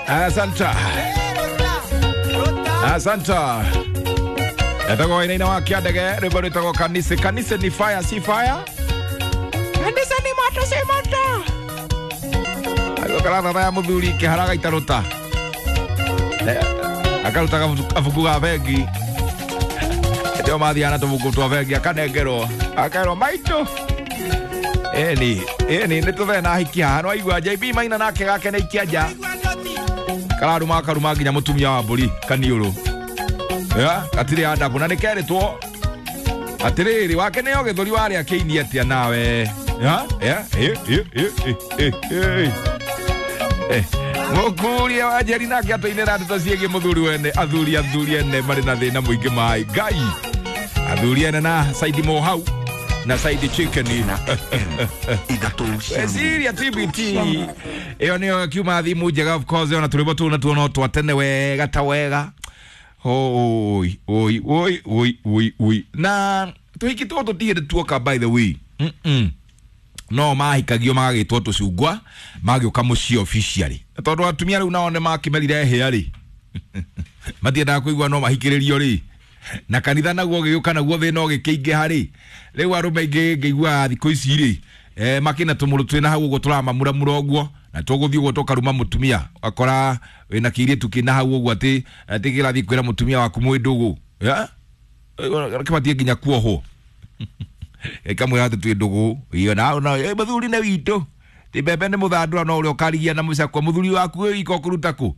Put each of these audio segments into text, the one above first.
Asante. Asante. Etagwo inaina wa kiandege rwimbo rwitagwo kanisa. Kanisa ni fire, si fire? Kanisa ni moto, si moto. Agokara ya muthuri kiharaga itaruta. Akaruta kabuku ga bengi. Ndio mathiana tubuku twa bengi akanengerwo. Akerwo maitu. Eni, eni nĩ na hiki haha no aigua JB maina nake gake nĩ ikia nja. Kararuma akaruma nginya mũtumia wa mbũri kaniũrũ. Ya, gatirĩ adabu na nĩ kerĩtwo atĩrĩrĩ wake nĩyo gĩthũri warĩa kĩini atĩa nawe. Ya, ya, eh. Mũkuria wa Njeri nake atũinĩra ndeto ciĩgiĩ mũthuri wene, athuri athuri ene marĩ na thĩna mũingĩ maĩ. Ngai. Athuri ene na Saidi Mohau na Saidi Chicken. Weciria TBT ĩyo nĩyo kiuma thimu njega, of course ona tũrĩmbo tũu natuo no twatene wega ta wega. Oi oi oi oi oi oi na tũhiki tũtũ tigĩrĩ tuoka, by the way. No mahikagio magagĩtwo tũcungwa magĩũka mũciĩ officially tondũ atumia rĩu nao nĩ makĩmerire hĩa rĩ matiendaga kũigua no mahikĩrĩrio rĩ na kanitha naguo gĩgĩũka naguo thĩna ũgĩkĩingĩha rĩ rĩu arũme aingĩ ngĩiguaga thikũ ici rĩ makĩna tũmũrũ twĩna hau ũguo tũramamuramura ũguo na tũgũthiĩ ũguo tũkaruma mũtumia ũgakora wĩna kĩirĩtu kĩna hau ũguo atĩ atĩ kĩrathiĩ kwĩra mũtumia waku mwĩ ndũgũ kĩbatiĩ nginya kuohwo ĩkamwĩra atĩ twĩ ndũgũ iyo na mũthuri nĩ witũ ti mbembe nĩ mũthandũra no ũrĩa ũkarigia na mũcakwa mũthuri waku wĩ wika ũkũruta kũ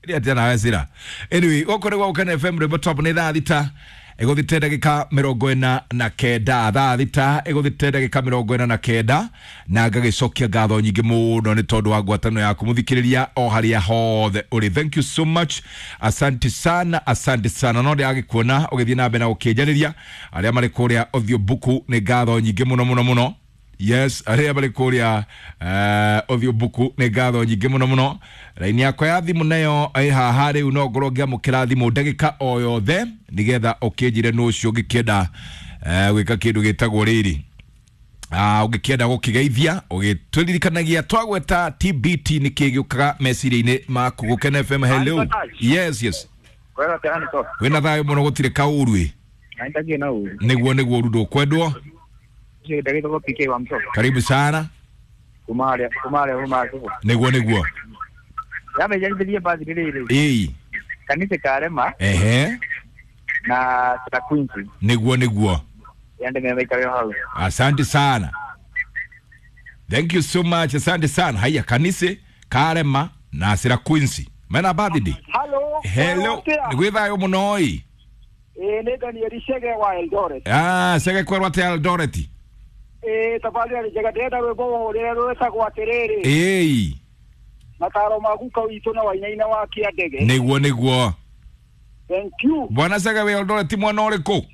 ĩrĩa atĩa nawe cira. Anyway, gũkũ nĩ gwa Gũkena FM rwĩmbo top nĩ thaa thita ĩgũthĩte ndagĩka 49, thaa thita ĩgũthĩte ndagĩka 49, na ngagĩcokia ngatho nyingĩ mũno nĩ tondũ wa ngwatanĩro yaku mũthikĩrĩria o harĩa hothe ũrĩ. Thank you so much, asante sana, asante sana. No ndĩragĩkuona ũgĩthiĩ na mbere na gũkĩnjarĩria arĩa marĩ kũrĩa Ũthiũ Mbuku nĩ ngatho nyingĩ mũno mũno mũno. Yes, arĩa marĩ kũrĩa Ũthiũ Mbuku nĩ ngatho nyingĩ mũno mũno. Raini yakwa ya thimũ nayo ĩ haha rĩu no ngorwo ngĩamũkĩra thimũ ndagĩka o yothe nĩgetha ũkĩnjĩre nũ ũcio ũngĩkĩenda gwĩka kĩndũ gĩtagwo rĩrĩ ũngĩkĩenda gũkĩgeithia ũgĩtũririkanagia twagweta TBT nĩ kĩ gĩũkaga meciria-inĩ maku. Gũkena FM, hello. Yes, yes. Wĩna thayũ mũno gũtirĩ kaũru ĩ. Nĩguo nĩguo ũru ndũkwendwo. Karibu sana. Nĩguo nĩguo. Ĩĩ. Kanitha karema. Ehe. Na Quincy. Nĩguo nĩguo. Asante sana. Thank you so much. Asante sana. Haya kanitha karema na Sira Quincy. Mena birthday. Hello. Hello. Nĩgwĩ thayũ mũno ĩ. Ĩ nĩ Daniel Chege wa Eldoret. Ah, Chege kwerwo atĩa Eldoret? Tafadhali njega ndĩrenda rwĩmbo rũrĩa rwĩtagwo atĩrĩrĩ. Ĩĩ. Mataro ma guka witũ na wainaina wa kĩandege. Nĩguo nĩguo. Thank you. Bwana Chege wĩ Eldoret mwena ũrĩkũ?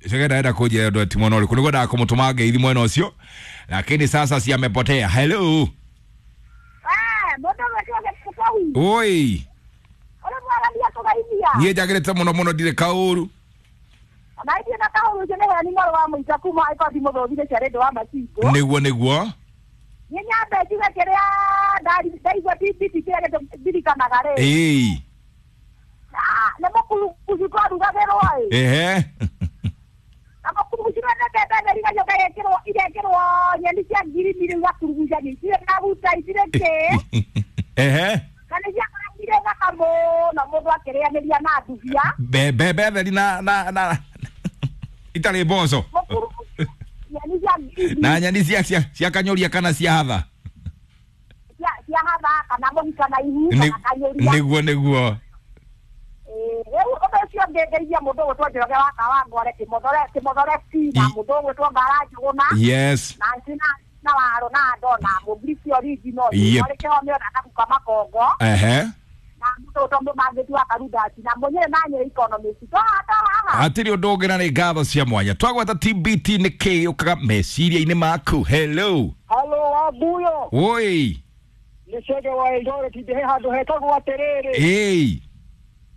Chege ndaenda kũnjĩra Eldoret mwena ũrĩkũ nĩguo ndaga kũmũtũma ngeithi mwena ũcio lakini sasa si amepotea. Hello. Oi. Niĩ njagĩrĩte mũno mũno ndirĩ kaũru. Nĩguo nĩguo. Ĩĩ. Ehe. Ehe. Mbembe theri na na na itarĩ mboco na nyeni cia kanyũria kana cia hatha. Nĩguo nĩguo. Rĩu ũndũ ũcio ngĩngeithia mũndũ ũgwĩtwo Njoroge wa Kawangware Kĩmothore na mũndũ ũgwĩtwo Ngara Njũgũna. Yes. Na na waro na andũ na mũmbrici original marĩ kĩhomeo na Kaguka Makongo. Ehe. Na mũndũ ũgwĩtwo Mũmangĩti wa Karundati na mũnyere na Nyeri Economist. Hatirĩ ũndũ ũngĩ na nĩ ngatho cia mwanya twagweta TBT nĩ kĩ gĩũkaga meciria-inĩ maku. Hello. Hello Wabuyo. Oi. Nĩ Chege wa Eldoret ndĩ handũ hetagwo atĩrĩrĩ. Ĩĩ.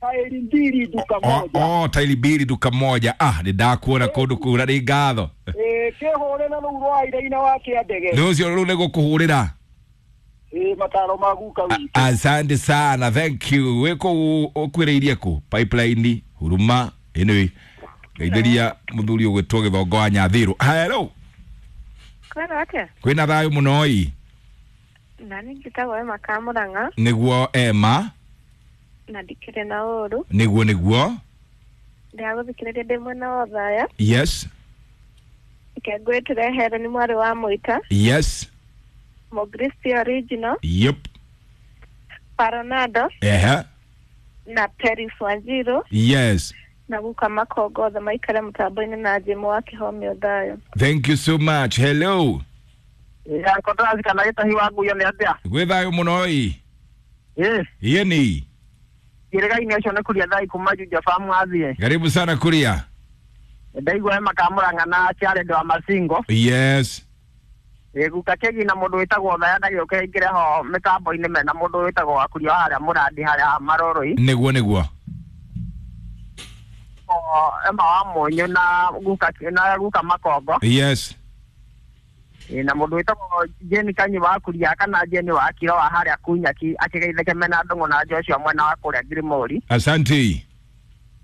Tairi mbili duka moja. Oh, tairi mbili duka moja. Ah, nĩ ndakuona kũndũ kũu na nĩ ngatho. Ĩ kĩhũre na rũu rwa iraina wa kĩandege. Nĩ ũcio rĩu nĩ gũkũhũrĩra. Ĩ mataro ma guka witũ. Asante sana, thank you. Wĩ kũu ũkwĩrĩirie kũ? Pipeline, Huruma, anyway. Ngeithĩria mũthuri ũgwĩtwo Gĩthongo wa Nyathirũ. Hello. Kwĩna atĩa? Kwĩna thayũ mũno ĩ. Nani njĩtagwo Emma Kamũrang'a Nĩguo Emma, na ndikĩrĩ na ũru. nĩguo nĩguo. Ndĩragũthikĩrĩria ndĩ mwena wa Othaya. Yes, Reke ngwĩtĩre Helen mwarĩ wa Mũita, yes, Mũgristi original, yep, Paronado ehe, na Peris Wanjiru yes. na guka Makongo othe maikare mũtambo-inĩ na Jimũ wa Kĩhomio thayũ. Thank you so much. Hello. Yakotazi kana gĩtahi wa nguyo nĩ atĩa? Gwĩ thayũ mũno ĩ. Ĩ Yeni. kĩrĩga-inĩ ũcio nĩ kuria thai kuma Juja Farm athiĩ. Karibu sana Kuria. Ndaigua Emma Kamũrang'a na Jared wa Masingo. Yes. Ĩ guka kĩgi na mũndũ wĩtagwo Othaya ndagĩũke aingĩre ho mĩtambo-inĩ mena mũndũ wĩtagwo Wakuria wa harĩa Mũrandi harĩa Maroroi. Nĩguo nĩguo. O Emma wa Mũnyũ na guka na guka Makongo. Yes. Ĩ na mũndũ wĩtagwo Jane Kanyi wa Kuria kana Jane wa Kiro wa harĩa Kunyaki akĩgeithĩke mena Ndũng'ũ na Joshua mwena wa kũrĩa Ngirimori. Asante.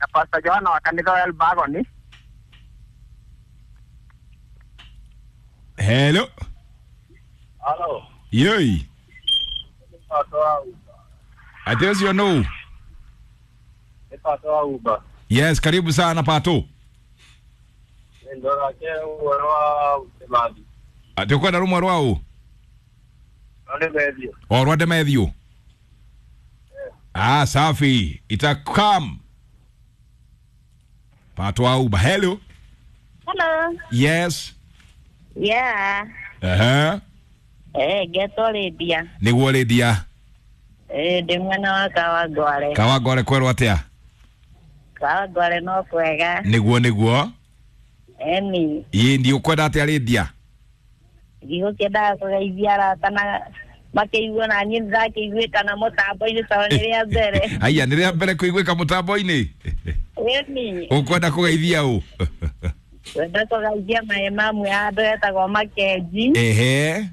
Na Pastor Johana wa kanitha wa Elbagoni. Hello. Halo. Yoi. Pato wa Uber. Ati ũcio nũ? Nĩ Pato wa Uber. Yes, karibu sana Pato. Ndorake ũhoro wa Kimathi. Ati ũkwenda rũmwe rwa ũ? No nĩ methio. O rwa Demethiũ. Ah, safi. Itakam. Pato wa Uber. Hello. Hello. Yes. Yeah. Aha. Eh, getwo Lydia. Nĩguo Lydia. Eh, ndĩ mwena wa Kawangware. Kawangware kwerwo atĩa? Kawangware no kwega. Nĩguo nĩguo. Eni, Ĩ ndi ũkwenda atĩa Lydia? ndigũkĩendaga kũgeithia arata na makĩigua na niĩ nĩndakĩiguĩka na mũtambo-inĩ tondũ nĩ rĩa mbere. Haiya, nĩ rĩa mbere kũiguĩka mũtambo-inĩ. Eni, Ũkwenda kũgeithia ũ? kwenda kũgeithia maĩ mamwe ya andũ etagwo Makenji Ehe.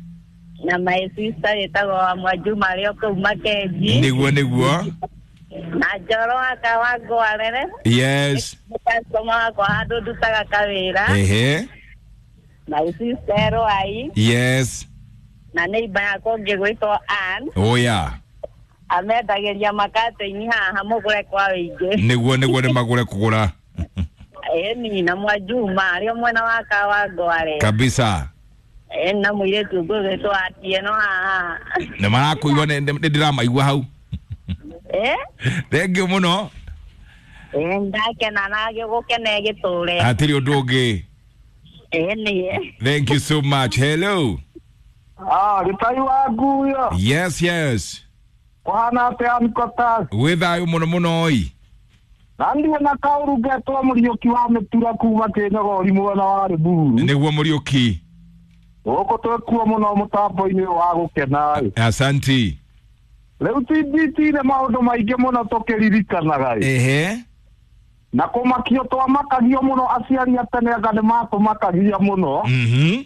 na my sister wĩtagwo wa Mwajuma arĩ o kũu Makenji Nĩguo nĩguo. na Njoro wa Kawangware Yes. nĩ customer wakwa handũ ndutaga kawĩra. Ehe. My sister Rwai Yes. na neighbor yakwa ũngĩ gwĩtwo Ann Oya. amendagĩria makatĩ-inĩ haha mũgũre kwa wĩingĩ. Nĩguo nĩguo nĩ magũre kũgũra. Ĩni na Mwajuma arĩ o mwena wa Kawangware. Kabisa. Ĩni na mũirĩtu ũngĩ ũgwĩtwo Atieno haha. Nĩ marakũigua nĩ ndĩramaigua hau. Ĩ? Thank you mũno. Ĩ ndakena na gũkena gĩtũre. Hatirĩ ũndũ ũngĩ. Ĩni. Thank you so much. Hello. Ah, gĩtai wa nguyo. Yes, yes. Kũhana atĩa Nikotas? Gwĩ thayũ mũno mũno ĩ. Na ndiĩ na kaũru ngetwo Mũriũki wa Mĩtura kuma Kĩnyogori mwena wa Rĩmuru. Nĩguo Mũriũki. Gũkũ twĩkuo mũno mũtambo-inĩ ũyũ wa gũkena ĩ. Asante. Rĩu TBT nĩ maũndũ maingĩ mũno tũkĩririkanaga ĩ. Ehe. Na kũmakio twamakagio mũno aciari a tene anga nĩ matũmakagia mũno. Mhm.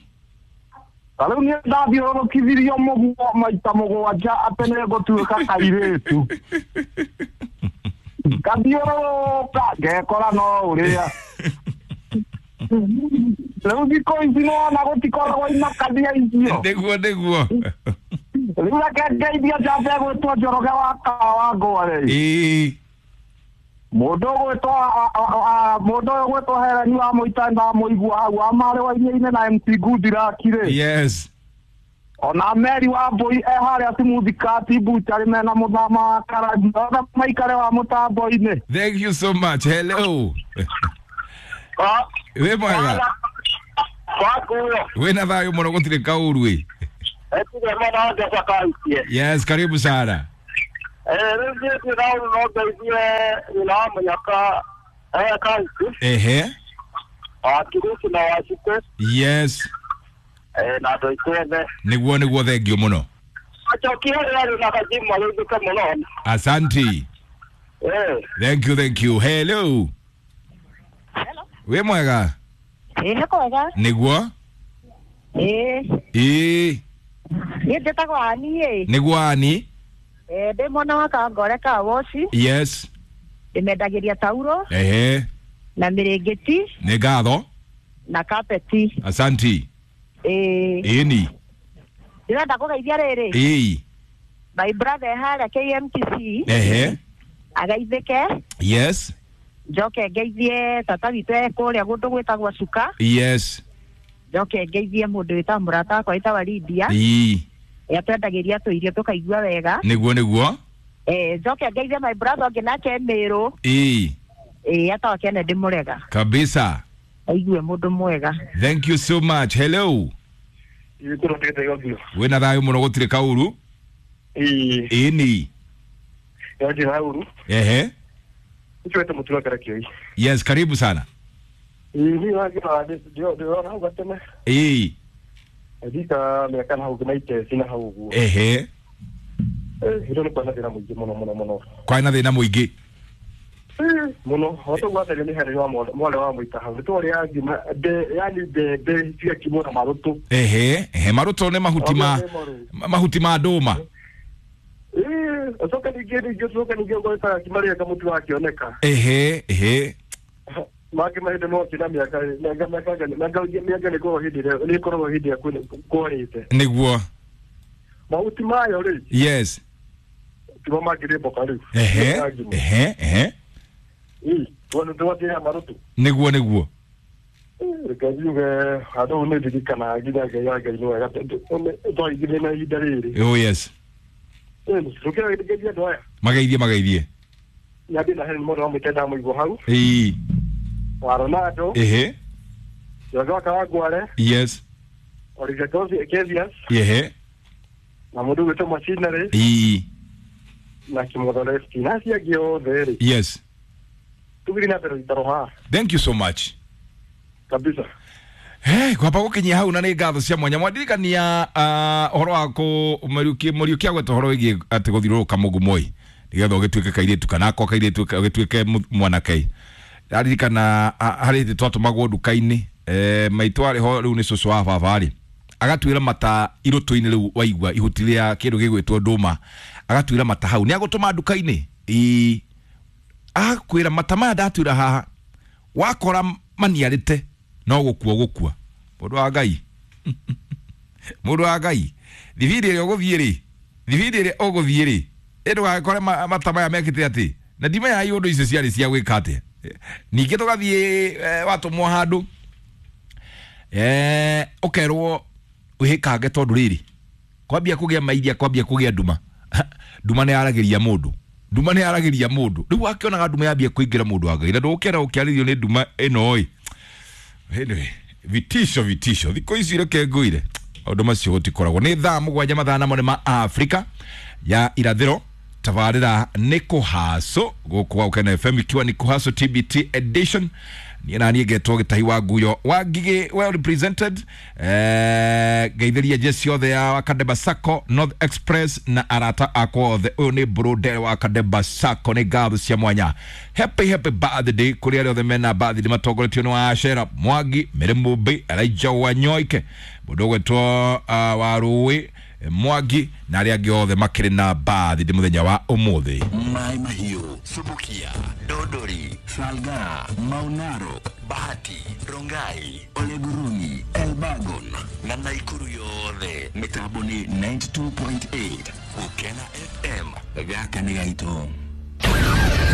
Ta rĩu niĩ ndathiũrũrũkithirio mũguo maita mũgwanja atĩ nĩ ngũtuĩka kairĩtu. Ngathiũrũrũka ngekora no ũrĩa. Rĩu thikũ ici nĩwona gũtikoragwo imakania icio. Nĩguo nĩguo. Rĩu reke ngeithia njamba ĩgwĩtwo Njoroge wa Kawangware. Ĩĩ. Mũndũ ũgwĩtwo mũndũ ũyũ ũgwĩtwo Helen wa Mũita ndamũigua hau wa marĩ wa iria-inĩ na MC Goodluck rĩ. Yes. Ona Mary wa Mbũi e harĩa Simuthikati Buchari mena mũthama wa Karangi othe maikare wa mũtambo-inĩ. Thank you so much. Hello. Wĩ mwega. Wakuyo. Wĩna thayũ mũno gũtirĩ kaũru ĩ. Etige mwana ngeca kautie. Yes, karibu sana. Eh, rĩu niĩ ndirĩ na ũru no ngeithie nyina wa mũnyaka kauti. Ehe. Wa Kirusi na wa Cukũ. Yes. Na andũ aitũ othe. Nĩguo nĩguo thank you mũno. Acokia harĩa arĩ na kajimu arĩithĩke mũno. Asante. Thank you, thank you. Hello. Wĩ mwega? Ĩ nĩ kwega. Nĩguo? Ĩ Ĩĩ. Niĩ njĩtagwo Ani ĩ. Nĩguo Ani. Ndĩ mwana wa Kangore ka Woci. Yes. Ndĩmendagĩria tauro. Ehe. Na mĩrĩngĩti. Nĩ ngatho. Na kapeti. Asanti. Ĩĩ. Ĩni. Ndĩrenda kũgeithia rĩrĩ. Ĩĩ. My brother harĩa KMTC. Ehe. Ageithĩke. Yes. Njoke ngeithie tata witũ e kũrĩa kũndũ gwĩtagwo Cuka. Yes. Njoke ngeithie mũndũ wĩtagwo mũrata wakwa wĩtagwa Lydia. Ĩĩ. Atwendagĩria tũirio tũkaigua wega. Nĩguo nĩguo. Njoke ngeithie my brother ũngĩ nake Mĩrũ. Ĩĩ. Etagwo Kennedy Mũrega. Kabisa. Aigue mũndũ mwega. Thank you so much. Hello. Wĩna thayũ mũno gũtirĩ kaũru. Ĩĩ. Ĩni. Ehe. Yes, karibu sana. Ĩĩ. Ehe. Kwarĩ na thĩna mũingĩ. Muno watogwatherio nĩ harĩ wa mwarĩ wa mũita hau nĩtwarĩaga ngima yani mbembe cigakimwo na marũtũ. Ehe, ehe, marũtũ nĩ mahuti ma mahuti ma ndũma. Ũcoke ningĩ ningĩ ũcoke ningĩ ũgwetaga ngima rĩrĩa kamũtu gakĩoneka. Ehe, ehe. Mangĩ mahinda no akĩna mĩaka mĩaka mĩaka mĩaka nĩ ĩkoragwo hĩndĩ ĩrĩa nĩ ĩkoragwo hĩndĩ ĩrĩa kwarĩte. Nĩguo. Mahuti mayo rĩ. Yes. Timo mangĩrĩ mboka rĩu. Ehe, ehe, ehe. Nĩguo nĩguo. Reke njuge handũ hau nĩ ndirikanaga nginya Ngai wa Ngai nĩ wega twaigire na ihinda rĩrĩ. Oh yes. Rũkĩra andũ aya. Mageithie mageithie. Nyambie na Helen mũndũ wa mũite ndamũigua hau. Ĩĩ. Wa Ronaldo. Ehe. Njoroge wa Kawangware. Yes. Olivia Kezias. Ehe. Na mũndũ ũgwĩtwo Machinery. Ĩĩ. Na Kĩmotho Lefty na acio angĩ othe rĩ. Yes. Thank you so much. Kabisa. Hey, kwamba gukinyia hau na nĩ ngatho cia mwanya mwandirikania ũhoro wa kũ Mũriũki agweta ũhoro wĩgiĩ atĩ gũthiũrũrũka mũgumo-ĩ nĩgetha ũgĩtuĩke kairĩtu kana akorwo kairĩtu ũgĩtuĩke mwanake. Ndaririkana harĩ hĩndĩ twatũmagwo nduka-inĩ maitũ arĩ ho rĩu nĩ cũcũ wa baba rĩ agatuĩra mata irũtũ-inĩ rĩu waigua ihuti rĩa kĩndũ gĩgwĩtwo ndũma agatuĩra mata hau nĩ agũtũma nduka-inĩ ĩĩ akwĩra mata maya ndatwĩra haha wakora maniarĩte no gũkua gũkua mũndũ wa Ngai mũndũ wa Ngai thibindi ĩrĩa ũgũthiĩ rĩ thibindi ĩrĩa ũgũthiĩ rĩ ndũgagĩkore mata maya mekĩte atĩ na ndimenyaga iũndũ icio ciarĩ cia gwĩka atĩa ningĩ tũgathiĩ watũmwo handũ ũkerwo wĩhĩkange tondũ rĩrĩ kwambia kũgĩa mairia kwambia kũgĩa nduma nduma nĩ yaragĩria mũndũ nduma nĩ yaragĩria mũndũ rĩu akĩonaga nduma yambia kũingĩra mũndũ wa Ngai na ndũgũkĩenda gũkĩarĩrio nĩ nduma ĩno ĩ. Anyway, vitisho vitisho thikũ ici reke ngũire maũndũ macio gũtikoragwo. Nĩ thaa 7 mathaa namo nĩ ma Afrika ya irathĩro. Tabarĩra nĩ kũhaco gũkũ gwa Gũkena FM ikiwa ni kũhaco TBT edition. Niĩ na niĩ ngetwo Gĩtahi wa Nguyo wa Ngigĩ, well represented. Ngeithĩria jeci othe ya Kadeba Sacco, North Express na arata akwa othe. Ũyũ nĩ Brode wa Kadeba Sacco, nĩ ngatho cia mwanya. Happy happy birthday kũrĩ arĩa othe mena birthday matongoretio nĩ wa Ashera Mwangi, Mary Mumbi, Elijah Wanyoike, mũndũ ũgwĩtwo wa Rũĩ Mwangi na arĩa angĩ othe makĩrĩ na birthday mũthenya wa ũmũthĩ. Mai Mahiũ, Subukia, Dodori, Salga, Maunaro, Bahati, Rongai, Oleguruni, Elbagon na Naikuru yothe. Mĩtambo nĩ 92.8 Gũkena FM. Gaka nĩ gaitũ.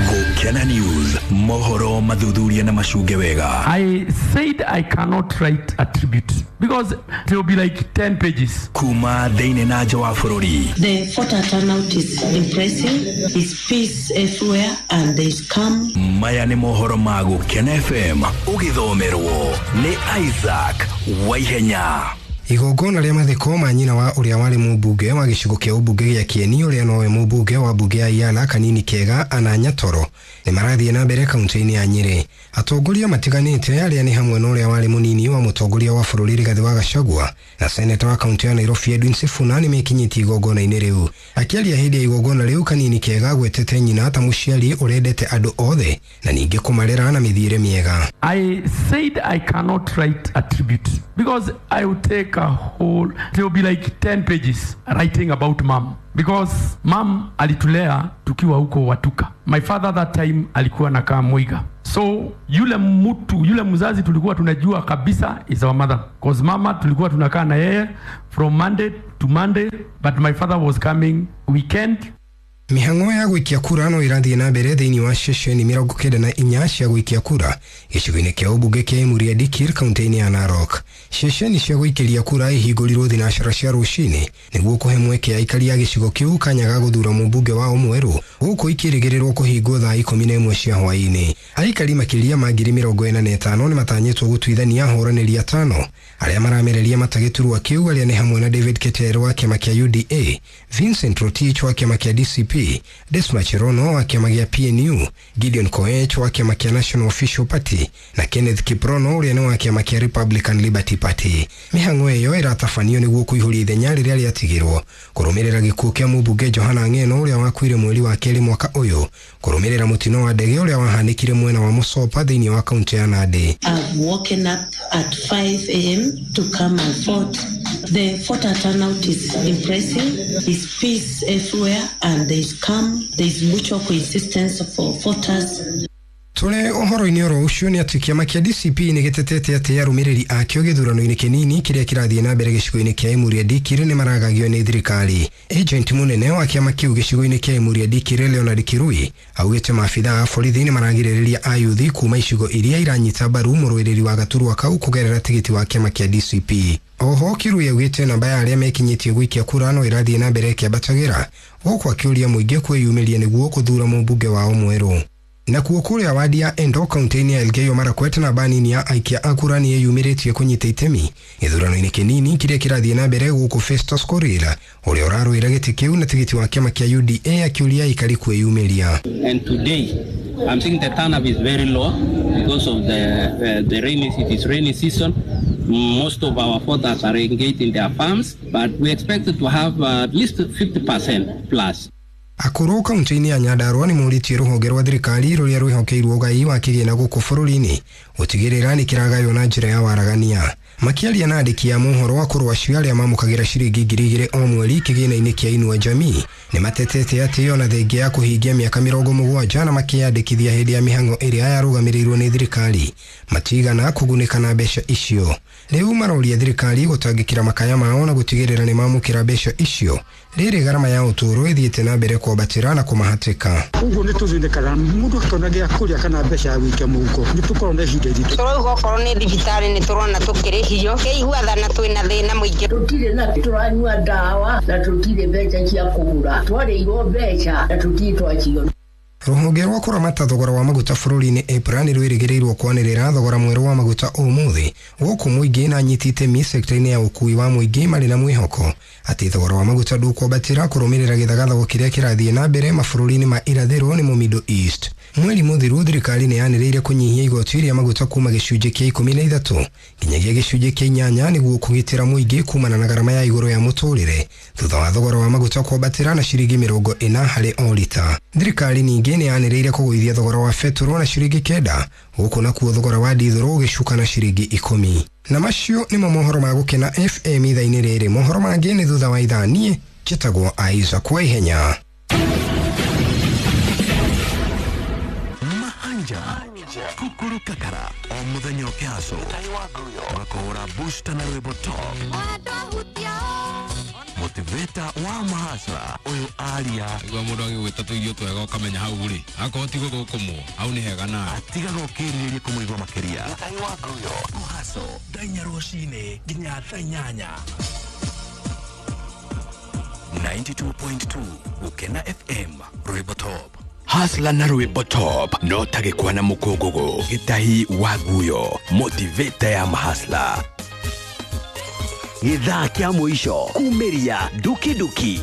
Gũkena News, mohoro mathuthuria na macunge wega. I said I cannot write a tribute because it will be like 10 pages. Kuma thĩinĩ na nja wa bũrũri. The voter turnout is impressive. There's peace everywhere and there's calm. Maya nĩ mohoro ma Gũkena FM ũgĩthomerwo nĩ Isaac Waihenya. Igongona rĩa mathiko ma nyina wa ũrĩa warĩ mũmbunge wa gĩcigo kĩa ũmbunge gĩa Kieni ũrĩa nowe mũmbunge wa mbunge ya Iala Kanini Kega Anna Nyatoro nĩ marathiĩ na mbere kaunti-inĩ ya Nyĩrĩ. Atongoria matiganĩte arĩa nĩ hamwe na ũrĩa warĩ mũnini wa mũtongoria wa bũrũri Rigathĩ wa Gachagua na seneta wa kaunti ya Nairobi Edwin Sifuna nĩ mekinyĩtie igongona-inĩ rĩu. Akĩaria hĩndĩ ya igongona rĩu, Kanini Kega agwetete nyina ta mũciari ũrendete andũ othe na ningĩ kũmarera na mĩthiĩre mĩega. I said I cannot write a tribute because I would take a whole, it will be like 10 pages writing about mom. Because mom alitulea tukiwa huko Watuka. My father that time alikuwa nakaa Muiga. So yule mtu, yule mzazi tulikuwa tunajua kabisa is our mother. Cause mama tulikuwa tunakaa na yeye from Monday to Monday, but my father was coming weekend. Mĩhang'o ya gũikia kura no ĩrathiĩ na mbere thĩinĩ wa ceceni 94 cia gũikia kura gĩcigo-inĩ kĩa ũmbunge kĩa Emurua Dikirr kaunti-inĩ ya Narok. Ceceni cia gũikĩria kura ihingũrirwo thinacara cia rũcinĩ nĩguo kũhe mweke aikari a gĩcigo kĩu kanya ga gũthura mũmbunge wao mwerũ, gũkũ ikĩrĩgĩrĩrwo kũhingwo thaa 11 cia hwaĩ-inĩ. Aikari makĩria ma 45,000 nĩ matanyĩtwo gũtuithania ahũranĩri atano arĩa maramereria mata gĩturwa kĩu, arĩa nĩ hamwe na David Keter wa kĩama kĩa UDA, Vincent Rotich wa kĩama kĩa DCP, Desma Cherono wa kĩama gĩa PNU, Gideon Koech wa kĩama kĩa National Official Party na Kenneth Kiprono ũrĩa nĩ wa kĩama kĩa Republican Liberty Party. Mĩhang'o ĩyo ĩratabanio nĩguo kũihũria ithenya rĩrĩa rĩatigirwo kũrũmĩrĩra gĩkuũ kĩa mũmbunge Johana Ng'eno ũrĩa wakuire mweri wa kerĩ mwaka ũyũ kũrũmĩrĩra mũtino wa ndege ũrĩa wahanĩkire mwena wa Mũsopa thĩinĩ wa kaunti ya Nandi. I've woken up at 5 a.m. to come and vote. The voter turnout is impressive. There's peace everywhere and there's calm. There's mutual coexistence for voters. Tũrĩ ũhoro-inĩ oro ũcio nĩ atĩ kĩama kĩa DCP nĩ gĩtetete atĩ arũmĩrĩri akĩo gĩthurano-inĩ kĩnini kĩrĩa kĩrathiĩ na mbere gĩcigo-inĩ kĩa Emurua Dikirr nĩ maragagio nĩ thirikari. Agent mũnene wa kĩama kĩu gĩcigo-inĩ kĩa Emurua Dikirr Leonard Kirui augĩte maabitha a borithi nĩ maragirĩrĩria ayuthi kuma icigo iria iranyita mbaru mũrũĩrĩri wa gaturwa kau kũgerera tigiti wa kĩama kĩa DCP. Oho Kirui augĩte namba ya arĩa mekinyĩtie gũikia kura no ĩrathiĩ na mbere ĩkĩambatagĩra, gũkũ akĩũria mũingĩ kwĩyumĩria nĩguo gũthura mũmbunge wao mwerũ. Na kuo kũrĩa wadi ya Endo kaunti-inĩ ya Elgeyo Marakwet namba nini ya aikia a kura nĩ ĩyumĩrĩtie kũnyita itemi gĩthurano-inĩ kĩnini kĩrĩa kĩrathiĩ na mbere gũkũ Festus Korir ũrĩa ũrarũĩra gĩtĩ kĩu na tigiti wa kĩama kĩa UDA akĩũria aikari kwĩyumĩria. And today I'm seeing the turnout is very low because of the rainy, it is rainy season. Most of our voters are engaged in their farms, but we expect to have at least 50% plus. Akũrũ kaunti-inĩ ya Nyandarua nĩ morĩtie rũhonge rwa thirikari rũrĩa rwĩhokeirwo ũgai wa kĩgĩna gũkũ bũrũri-inĩ gũtigĩrĩra nĩ kĩragaywo na njĩra ya waragania. Makĩaria na andĩki a mohoro akũrũ acio arĩa mamũkagĩra ciringi 2,000 o mweri kĩgĩna-inĩ kĩa Inua Jamii nĩ matetete atĩ ona thengia ya kũhingia mĩaka 70 na makĩyandĩkithia hĩndĩ ya mĩhang'o ĩrĩa yarũgamĩrĩirwo nĩ thirikari matigana kũgunĩka na mbeca icio. Rĩu maroria thirikari gũtangĩkĩra makaya mao na gũtigĩrĩra nĩ mamũkĩra mbeca icio rĩrĩ garama ya ũtũũro ĩthiĩte na mbere kwambatĩra na kũmahatĩka. Ũguo nĩ tũthĩnĩkaga mũndũ akĩona gĩa kũrĩa kana mbeca ya gũikia mũhuko nĩ tũkoragwo na ihinda iritũ. Tũrauga okorwo nĩ thibitarĩ nĩ tũrona tũkĩrĩhio kĩigua thana twĩna thĩna mũingĩ. Tũtirĩ na tũranyua ndawa na tũtirĩ mbeca cia kũgũra, twarĩirwo mbeca na tũtirĩ twaciona. Rũhonge rwa kũramata thogora wa maguta bũrũri-inĩ EPRA nĩ rwĩrĩgĩrĩirwo kwanĩrĩra thogora mwerũ wa maguta ũmũthĩ gũkũ mũingĩ na anyiti itemi sekta-inĩ ya ũkuui wa mũingĩ marĩ na mwĩhoko atĩ thogora wa maguta ndũkwambatĩra kũrũmĩrĩra gĩthagathago kĩrĩa kĩrathiĩ na mbere mabũrũri-inĩ ma irathĩro nĩmo Middle East. Mweri mũthiru thirikari nĩ yanĩrĩire kũnyihia igoti rĩa maguta kuma gĩcunjĩ kĩa 13 nginyagia gĩcunjĩ kĩa 8 nĩguo kũgitĩra mũingĩ kumana na garama ya igũrũ ya mũtũrĩre thutha wa thogora wa maguta kwambatĩra na ciringi 40 harĩ o rita. Thirikari ningĩ nĩ yanĩrĩire kũgũithia thogora wa betũrũ na ciringi 9 gũkũ nakuo thogora wa ndithũrũ ũgĩcuka na ciringi 10. Na macio nĩmo mohoro ma Gũkena FM ithaa-inĩ rĩrĩ. Mohoro mangĩ nĩ thutha wa ithaa. Niĩ njĩtagwo Isaac Waihenya. Kukuru kakara o muthenya ũkĩhaco ũgakũhũra booster na rwĩmbo top motivator wa mahasra ũyũ aria igua mũndũ agĩgwĩta tũirio twega ũkamenya hau rĩ akorwo ti gũthũkũmwo hau nĩ hega nawe atigaga ũkĩrirĩria kũmũigua makĩria kũhaco thaa inya rũcinĩ nginya thaa 8. 92.2 Gũkena FM rwĩmbo top. Hasla na rwĩmbo top no tagĩkwa na mũkũngũgũ gĩtahi wa guyo motivator ya mahasla. Gĩthaa kĩa mũico kumĩria dukiduki.